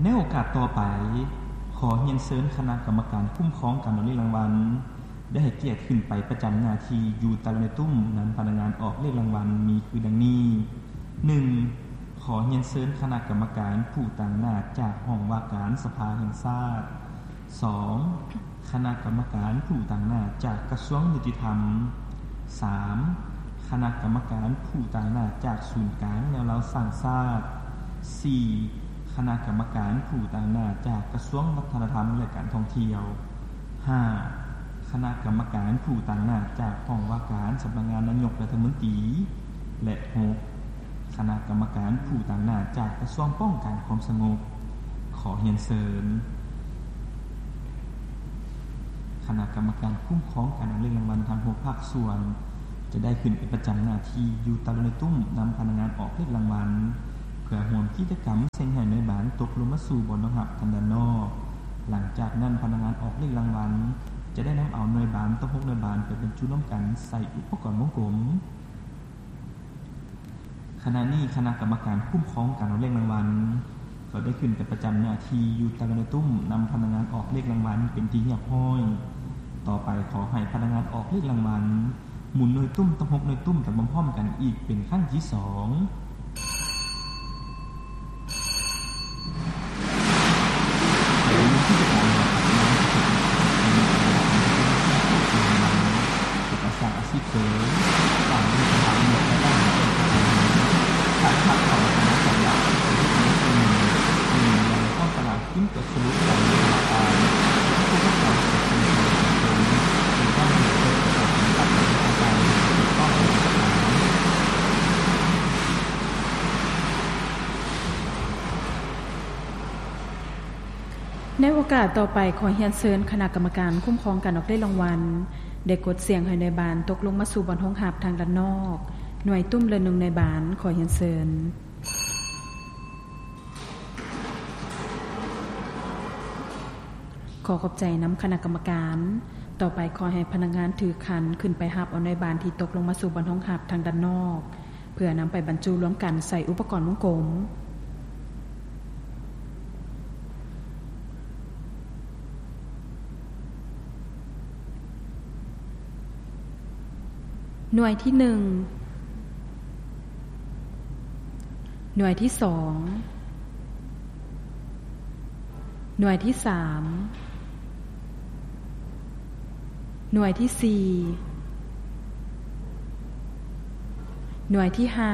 ໃນໂອກາດຕໍ່ໄປ, ຂໍຮຽນເຊີນຄະນະກຳມະການຄຸ້ມຄອງການອອກເລກລາງວັນ ໄດ້ໃຫ້ກຽດຂຶ້ນໄປປະຈຳໜ້າທີ່ຢູ່ຕາລາງໜ່ວຍຕຸ້ມນຳພະນັກງານອອກເລກລາງວັນ ມີຄືດັ່ງນີ້: ໜຶ່ງ ຂໍຮຽນເຊີນຄະນະກຳມະການຜູ້ຕາງໜ້າຈາກຫ້ອງວ່າການສະພາແຫ່ງຊາດ, ສອງ ຄະນະກຳມະການຜູ້ຕາງໜ້າຈາກກະຊວງຍຸຕິທຳ, ສາມ ຄະນະກຳມະການຜູ້ຕາງໜ້າຈາກສູນກາງແນວລາວສ້າງຊາດ, ສີ່ ຄະນະກຳມະການຜູ້ຕາງໜ້າຈາກກະຊວງວັດທະນະທຳ ແລະ ການທ່ອງທ່ຽວ, ຫ້າ ຄະນະກຳມະການຜູ້ຕາງໜ້າຈາກຫ້ອງວ່າການສຳນັກງານນາຍົກລັດຖະມົນຕີ ແລະ ຫົກ ຄະນະກຳມະການຜູ້ຕາງໜ້າຈາກກະຊວງປ້ອງກັນຄວາມສະຫງົບ. ຂໍຮຽນເຊີນຄະນະກຳມະການຄຸ້ມຄອງການອອກເລກລາງວັນທັງຫົກພາກສ່ວນ ຈະໄດ້ຂຶ້ນໄປປະຈຳໜ້າທີ່ຢູ່ຕາລາງໜ່ວຍຕຸ້ມນຳພະນັກງານອອກເລກລາງວັນ ເພື່ອຮ່ວມກິດຈະກຳສ່ຽງໃຫ້ໜ່ວຍບານຕົກລົງມາສູ່ບ່ອນຮອງຮັບທາງດ້ານນອກ. ຫຼັງຈາກນັ້ນ, ພະນັກງານອອກເລກລາງວັນຈະໄດ້ນຳເອົາໜ່ວຍບານທັງຫົກໜ່ວຍບານໄປບັນຈຸລວມກັນໃສ່ອຸປະກອນວົງກົມ. ຂະນະນີ້ຄະນະກຳມະການຄຸ້ມຄອງການອອກເລກລາງວັນ ກໍໄດ້ຂຶ້ນໄປປະຈຳໜ້າທີ່ຢູ່ຕາລາງໜ່ວຍຕຸ້ມນຳພະນັກງານອອກເລກລາງວັນເປັນທີ່ຮຽບຮ້ອຍ. ຕໍ່ໄປຂໍໃຫ້ພະນັກງານອອກເລກລາງວັນ ໝູນໜ່ວຍຕຸ້ມທັງຫົກໜ່ວຍຕຸ້ມໄປພ້ອມໆກັນອີກເປັນຄັ້ງທີສອງ. ເອກະສານອາຊີບເສີມ ການມີສະຖານະ ແລະ ການພັກຜ່ອນຂອງສັນຍາ ເປັນເລື່ອງໜຶ່ງ ມີໃນຫ້ອງຕະຫຼາດ ຂຶ້ນໄປສະຫຼຸບການເວລາການ ຜູ້ປະກອບການເປັນຕົ້ນ ຫຼື ບ້ານເມືອງເກີດການປະຕິບັດການເຮັດການ ຖືກຕ້ອງ. ໃນໂອກາດຕໍ່ໄປ, ຂໍຮຽນເຊີນຄະນະກຳມະການຄຸ້ມຄອງການອອກເລກລາງວັນ ໄດ້ກົດສ່ຽງໃຫ້ໜ່ວຍບານຕົກລົງມາສູ່ບ່ອນຮອງຮັບທາງດ້ານນອກ ໜ່ວຍຕຸ້ມລະໜຶ່ງໜ່ວຍບານ. ຂໍຮຽນເຊີນ. ຂໍຂອບໃຈນຳຄະນະກຳມະການ. ຕໍ່ໄປຂໍໃຫ້ພະນັກງານຖືຂັນຂຶ້ນໄປຮັບເອົາໜ່ວຍບານທີ່ຕົກລົງມາສູ່ບ່ອນຮອງຮັບທາງດ້ານນອກ ເພື່ອນຳໄປບັນຈຸລວມກັນໃສ່ອຸປະກອນວົງກົມ. ໜ່ວຍທີໜຶ່ງ, ໜ່ວຍທີສອງ, ໜ່ວຍທີສາມ, ໜ່ວຍທີສີ່, ໜ່ວຍທີຫ້າ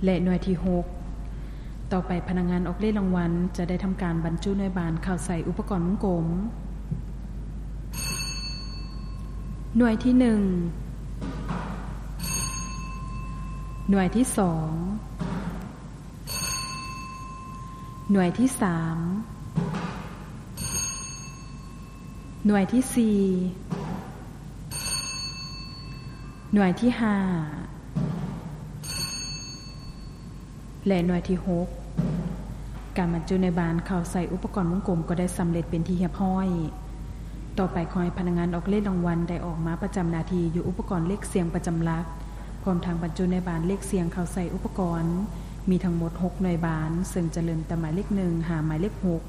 ແລະ ໜ່ວຍທີຫົກ. ຕໍ່ໄປພະນັກງານອອກເລກລາງວັນຈະໄດ້ທຳການບັນຈຸໜ່ວຍບານເຂົ້າໃສ່ອຸປະກອນວົງກົມ. ໜ່ວຍທີໜຶ່ງ, ໜ່ວຍທີສອງ, ໜ່ວຍທີສາມ, ໜ່ວຍທີສີ່, ໜ່ວຍທີຫ້າ ແລະ ໜ່ວຍທີຫົກ. ການບັນຈຸໜ່ວຍບານເຂົ້າໃສ່ອຸປະກອນວົງກົມກໍໄດ້ສຳເລັດເປັນທີ່ຮຽບຮ້ອຍ. ຕໍ່ໄປຂໍໃຫ້ພະນັກງານອອກເລກລາງວັນໄດ້ອອກມາປະຈຳໜ້າທີ່ຢູ່ອຸປະກອນເລກສ່ຽງປະຈຳຫຼັກ ພ້ອມທັງບັນຈຸໜ່ວຍບານເລກສ່ຽງເຂົ້າໃສ່ອຸປະກອນ. ມີທັງໝົດຫົກໜ່ວຍບານ, ເຊິ່ງຈະເລີ່ມແຕ່ໝາຍເລກໜຶ່ງຫາໝາຍເລກຫົກ.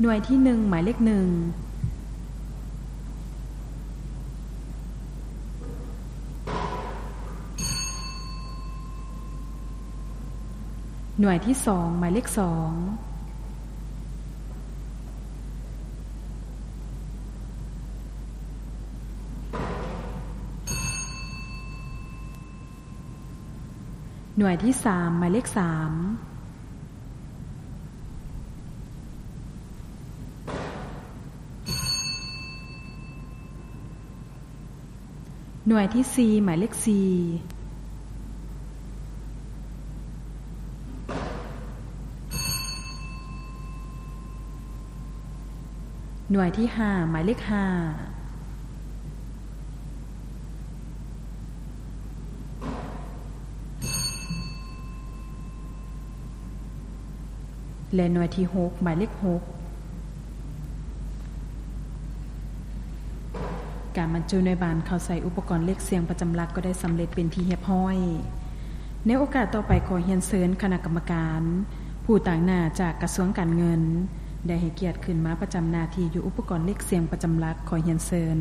ໜ່ວຍທີໜຶ່ງ ໝາຍເລກໜຶ່ງ. ໜ່ວຍທີສອງ ໝາຍເລກສອງ. ໜ່ວຍທີສາມ ໝາຍເລກສາມ. ໜ່ວຍທີສີ່ ໝາຍເລກສີ່. ໜ່ວຍທີຫ້າ ໝາຍເລກຫ້າ ແລະ ໜ່ວຍທີຫົກ ໝາຍເລກຫົກ. ການບັນຈຸໜ່ວຍບານເຂົ້າໃສ່ອຸປະກອນເລກສ່ຽງປະຈຳຫຼັກກໍໄດ້ສຳເລັດເປັນທີ່ຮຽບຮ້ອຍ. ໃນໂອກາດຕໍ່ໄປ ຂໍຮຽນເຊີນຄະນະກຳມະການຜູ້ຕາງໜ້າຈາກກະຊວງການເງິນ ໄດ້ໃຫ້ກຽດຂຶ້ນມາປະຈຳໜ້າທີ່ຢູ່ອຸປະກອນເລກສ່ຽງປະຈຳຫຼັກ. ຂໍຮຽນເຊີນ.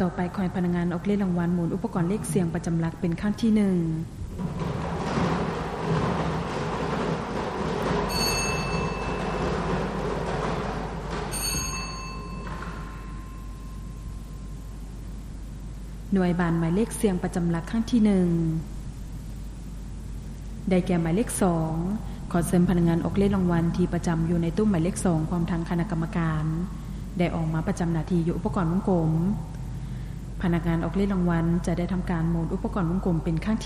ຕໍ່ໄປ ຂໍໃຫ້ພະນັກງານອອກເລກລາງວັນໝູນອຸປະກອນເລກສ່ຽງປະຈຳຫຼັກເປັນຄັ້ງທີໜຶ່ງ. ໜ່ວຍບານໝາຍເລກສ່ຽງປະຈຳຫຼັກຄັ້ງທີໜຶ່ງ ໄດ້ແກ່ໝາຍເລກສອງ. ຂໍເຊີນພະນັກງານອອກເລກລາງວັນທີ່ປະຈຳຢູ່ໃນຕູ້ໝາຍເລກສອງ ພ້ອມທັງຄະນະກຳມະການ ໄດ້ອອກມາປະຈຳໜ້າທີ່ຢູ່ອຸປະກອນວົງກົມ. ພະນັກງານອອກເລກລາງວັນຈະໄດ້ທຳການໝູນອຸປະກອນວົງກົມເປັນຄັ້ງທີ